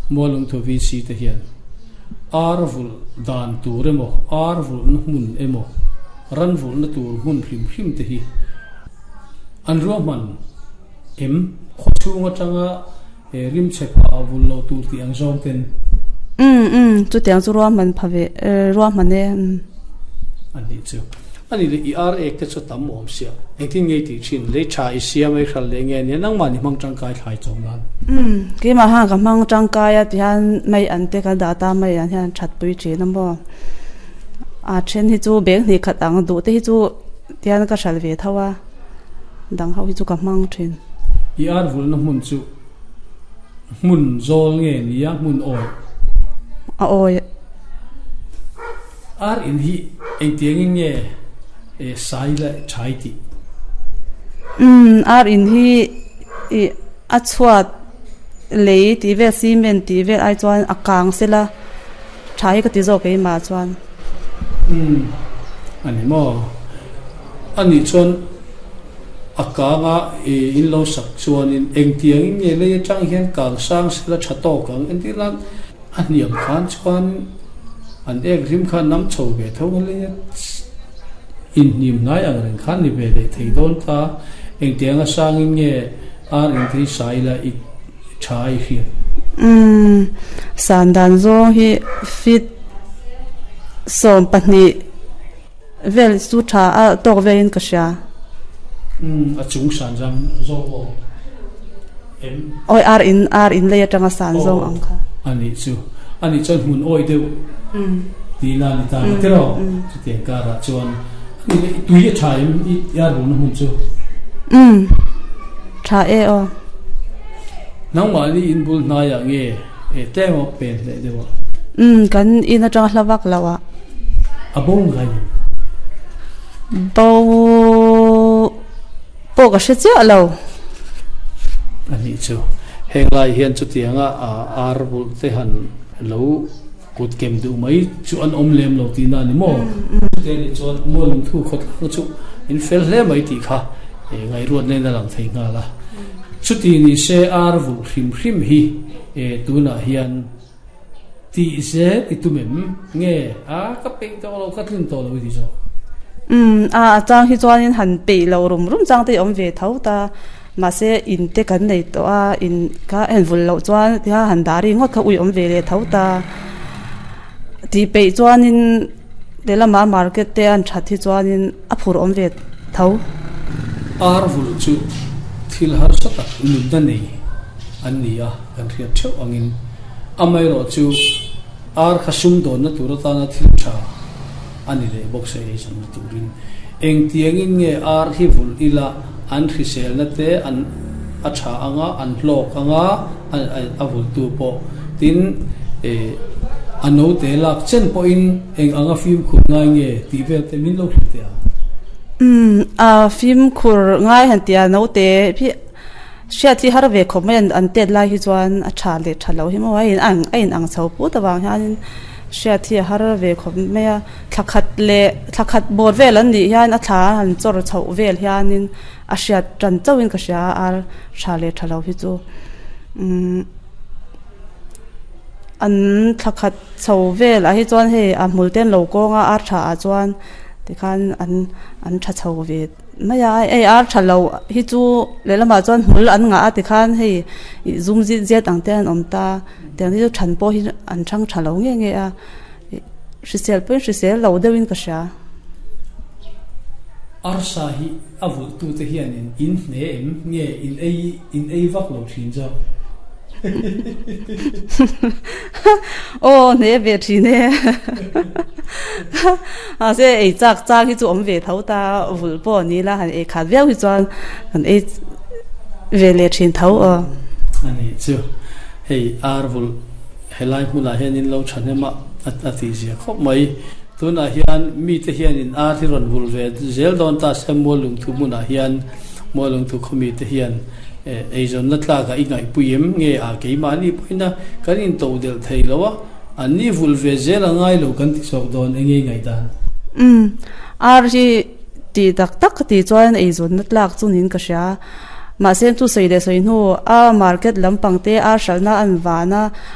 Mualungthu VC te hian ar vulh dan tur emaw, ar vulhna hmun emaw, ran vulhna tur hmun hrim hrim te hi an ruahman em? Khawchhung atanga rim chhe phah vulh loh tur tih ang zawng ten. Umm umm chutiang chu ruahman pha ve ruahman e umm. A nih chu. A nih leh i ar ek te chu tam awm sia. Engtin nge i tih thin? Lei tha i siam a i hral leh nge nia nangmah ni hmang tangkai thlai chawm nan. Umm keimah khan ka hmang tangkai a tihian mai an te ka dah ta mai an hian that pui thin a maw. A then hi chu beng hnih khat ang duh te hi chu tihian ka hral ve tho a dang ho hi chu ka hmang thin. I ar vulna hmun chu hmun zawl nge nia hmun awi? A awi. Ar in hi engtiangin nge sai leh thai tih? Umm, ar in hi ih a chhuat lei tih vel cement tih vel ai chuan a kang sela tha hi ka ti zawk keimah chuan. Umm, a ni maw? A nih chuan a kanga ih in lo sak chuanin engtiangin nge lei atang hian kang sang sela tha tawk ang? Entir nan. A hniam khan chuan an ek rim kha nam chho ve tho a lei a, inhnim hnai ang reng khan ni ve leh thei dawn ta. Engtianga sangin nge ar engthei sa ila i tha i hriat? Umm, san dan zawng hi feet 12 vel chu tha a tawk velin ka hria. Umm, a chung san zang zawk aw em? Awi ar in ar in lei atanga san zawng ang kha. A nih chu. A nih chuan hmun awi deuh tihna a ni ta ang tiraw? Chutiang karah chuan a nih leh tui a tha em i ar rulna hmun chu? Umm, tha e aw. Nangmahni in bul hnaiah nge e tlem a pen hleh deuh a? Umm, kan in atanga hla vak lo ah. A bo ngai em? Bo pawh ka hre chiah lo. A nih chu. Heng lai hian chutianga ar bulh te han lo kut kem duh mai chu an awm lem lo tihna a ni maw? Chute nih chuan Mualungthu khawtlang chu in fel hle mai tih kha ngaihruat nen a lang thei nghal a. Chuti ni se ar vulh hrim hrim hi tunah hian Tih zel i tum em? Nge a, ka peih tawh lo, ka tlin tawh lo i ti zawk. Umm, a, a chang hi chuanin han peih lo rum rum chang te i awm ve tho ta. Mahse, in te kan nei tawh a, in kha a invul loh chuan tia han dah ri ngawt kha ui awm ve leh tho ta. Tih peih chuanin lehlamah market te an that hi chuanin a phur awm ve tho. Ar vulh chu thil harsa tak nunna nei an ni a. Kan hriat theuh angin amaherawh chu ar kha sumdawnna tur atana thil tha a ni leh bawk se ei zanna turin engtiangin nge ar hi vulh ila an hriselna te an a tha anga an hlawk anga a vulhtu pawh tin a note lak chen pawhin eng anga fimkhur ngai nge tih vel te min lo hrilh teh ang. Umm a fimkhur ngai han tia note hi Hriat hi har ve khawp mai an tet lai hi chuan a tha leh tha lo hi maw a in ang a in ang chho put avang hianin hriat hi a har ve khawp mai a thla khat leh thla khat bawr vel an nih hian a thla han chawr chhoh vel hianin a hriat tan chauhin ka hria a ar tha leh tha lo hi chu umm an thla khat chho velah hi chuan hei a hmul te an lo kawng a ar tha ah chuan tikhan an an tha chho ve. Mai a, hei ar tha lo hi chu lehlamah chuan hmul an ngah a tikhan hei ih zum zit zet ang te an awm ta tiang te chu than pawh hi an thang tha lo nge nge a ih hrisel pawhin hrisel lo deuhin ka hria. Arsa hi a vulhtute hianin in hne em nge in ei in ei vak lo thin zawk? Aw hne ve thin e. Mahse ei chak chang hi chu awm ve tho ta vulh pawh ni la han ei khat viau hi chuan kan ei ve leh thin tho aw. A nih chu hei ar vulh helai hmunah hian in lo thahnem a a tih zia khawp mai. Tunah hian mite hianin ar hi rawn vulh ve zel dawn ta se Muallungthu hmunah hian Muallungthu khawmite hian Eizawnna tlakah i ngaihpui em? Nge a keimahni pawhin a kan intoh delh thei lo a, an ni vulh ve zel a ngai lo kan ti chawk dawn eng nge i ngaihdan? Umm, ar hi tih tak tak ka tih chuan eizawnna tlak chu niin ka hria. Mahse chu sawi leh sawi hnu a market lampang te ar hralhna an van a.